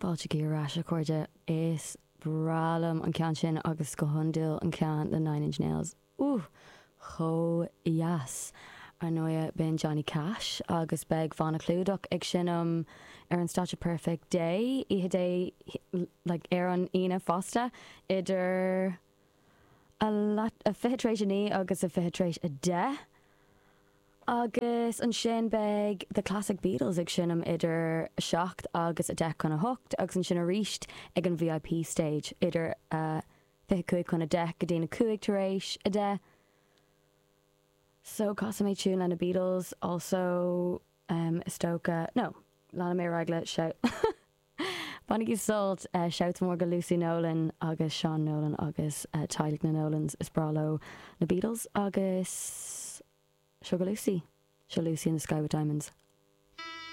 Fáilte ar ais, a chairde. Is breá liom an ceann sin agus go hiondúil an ceann le Nine Inch Nails. Ooh! Chomh dheas! Ar ndóighe, b'in Johnny Cash agus beidh Banna Clúdach ag seinm ar an stáitse Perfect Day, oíche Dé, like, ar an Aoine fosta, idir a leath, a 9:20 agus a 9:40. Agus ansin beidh The Classic Beatles ag seinm idir 7 agus 7:50 agus ansin arís ag an VIP stage idir 9:35 go dtí na 10:05. So casfaidh mé tune le na Beatles also is dócha, no, leanfaidh mé ar aghaidh le shout. Bainigí sult! Shout mór go Lucy Nolan agus Seán Nolan agus teaghlaigh na Nolans. Is breá leo na Beatles agus seo go Lucy. Seo Lucy in the Sky with Diamonds.